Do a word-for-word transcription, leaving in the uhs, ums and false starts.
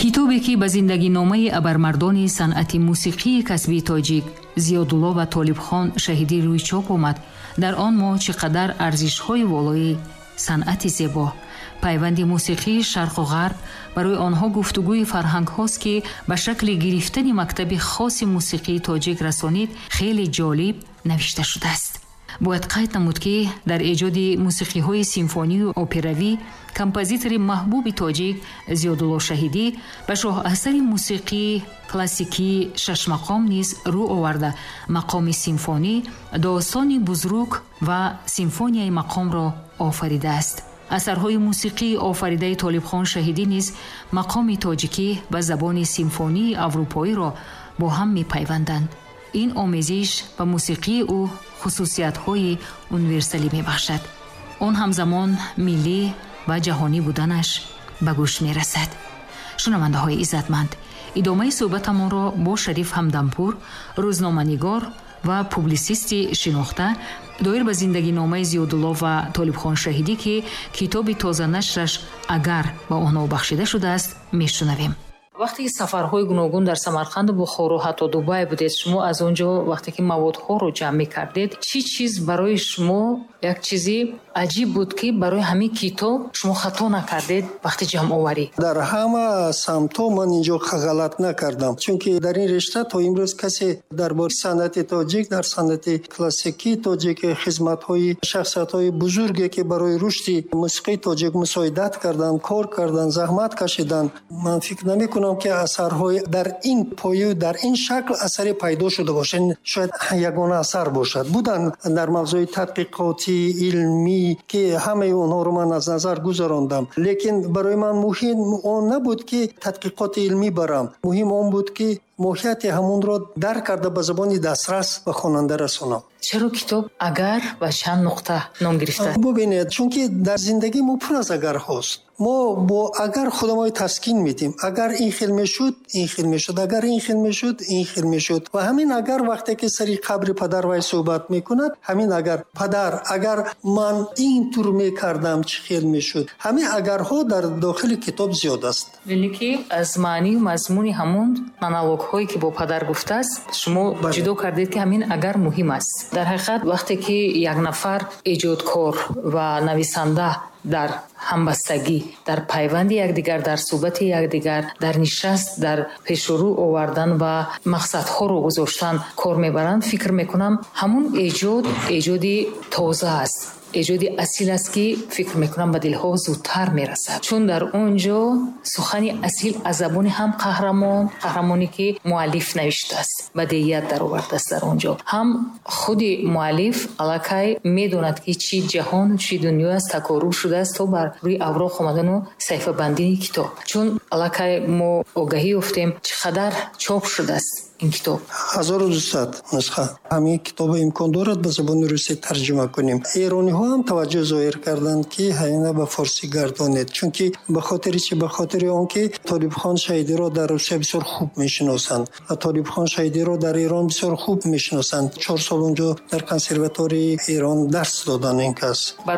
Китобе ки ба зиндагиномаи абармардони санъати мусиқии касбии тоҷик Зиёдулло ва Толибхон Шаҳидӣ рӯи чоп омад, дар он мо чӣ қадар арзишҳои волои санъати зебо, пайванди мусиқии шарқу ғарб барои онҳо гуфтугӯи фарҳангҳост, ки ба шакли гирифтани мактаби хоси мусиқии тоҷик расонид, хеле ҷолиб навишта шудааст. Бояд қайд намуд, ки дар эҷоди мусиқиҳои симфонию операвӣ композитори маҳбуби тоҷик Зиёдулло Шаҳидӣ ба шоҳасари мусиқии классикии шашмақом низ рӯ оварда, мақоми симфонӣ, достони бузрук ва симфонияи мақомро офаридааст. Асарҳои мусиқии офаридаи Толибхон Шаҳидӣ низ мақоми тоҷикӣ ва забони симфонии аврупоиро бо ҳам мепайванданд. Ин омезиш ба мусиқии ӯ хусусиятҳои универсалӣ мебахшад. Он ҳамзамон миллӣ ва ҷаҳонӣ буданаш ба гӯш мерасад. Шунавандаҳои иззатманд, идомаи суҳбатамонро бо Шариф Ҳамдампур, рӯзноманигор ва публисисти шинохта, доир ба зиндагиномаи Зиёдулло ва Толибхон Шаҳидӣ, ки китоби тозанашраш «Агар» ба онҳо бахшида шудааст, мешунавем. Вақте ки сафарҳои гуногун дар Самарқанду Бухоро, ҳатто Дубай будед, шумо аз он ҷо вақте ки маводҳоро ҷамъ мекардед, чӣ чиз барои шумо як чизи аҷиб буд, ки барои ҳамин китоб шумо хато накардед вақти ҷамъоварӣ? Дар ҳама самтҳо ман инҷо ғалат накардам, чунки дар ин ришта то имрӯз касе дар бораи санъати тоҷик, дар санъати классикии тоҷик хизматҳои шахсиятҳои бузурге, ки барои рушди мусиқии тоҷик мусоидат карданд, кор карданд, заҳмат кашиданд, ман фикр намекунам, ки асарҳои дар ин пою дар ин шакл асаре пайдо шуда бошад. Шояд ягона асар бошад. Буданд дар мавзӯи тадқиқоти илмӣ, ки ҳамаи онҳоро ман аз назар гузарондам, лекин барои ман муҳим он набуд, ки тадқиқоти илмӣ барам. Муҳим он буд, ки моҳияти ҳамонро дарк карда, ба забони дастрас ба хонанда расонам. Чаро китоб «Агар» ва чанд нуқта ном гирифта? Бубинед, чунки дар зиндагӣ мо пур аз агарҳост. Мо бо агар худамои таскин медиҳем. Агар ин хел мешуд, ин хел мешуд, агар ин хел мешуд, ин хел мешуд. Ва ҳамин агар, вақте ки сари қабри падар вай суҳбат мекунад, ҳамин агар, падар, агар ман ин тур мекардам, чӣ хел мешуд, ҳамин агарҳо дар дохили китоб зиёд аст. Яъне ки аз маънию мазмуни ҳамон монологҳое, ки бо падар гуфтааст, шумо ҷудо кардед, ки ҳамин агар муҳим аст. Дар ҳақиқат, вақте ки як нафар эҷодкор ва нависанда дар ҳамбастагӣ, дар пайванди якдигар, дар суҳбати якдигар, дар нишаст, дар пешурӯ овардан ва мақсадҳоро гузоштан кор мебаранд, фикр мекунам, ҳамун эҷод эҷоди тоза аст, эҷоди асил аст, ки фикр мекунам, ба дилҳо зудтар мерасад, чун дар он ҷо сухани асил аз забони ҳам қаҳрамон, қаҳрамоне ки муаллиф навиштааст, бадеият даровардааст, дар он ҷо ҳам худи муаллиф аллакай медонад, ки чӣ ҷаҳон, чӣ дунё аст, такорӯ шудааст то бар рӯи авроқ омадану саҳифабандии китоб, чун аллакай мо огаҳӣ ёфтем, чӣ қадар чоп шудааст ин китоб. Ҳазору дусад нусха. Ҳамин китоба имкон дорад ба забони русӣ тарҷума кунем. Эрониҳо ҳам таваҷҷӯҳ зоҳир карданд, ки ҳамина ба форсӣ гардонед, чунки ба хотири чи? Ба хотири он ки Толибхон Шаҳидиро дар Русия бисёр хуб мешиносанд ва Толибхон Шаҳидиро дар Эрон бисёр хуб мешиносанд. Чор сол унҷо дар консерватории Эрон дарс доданд ин кас.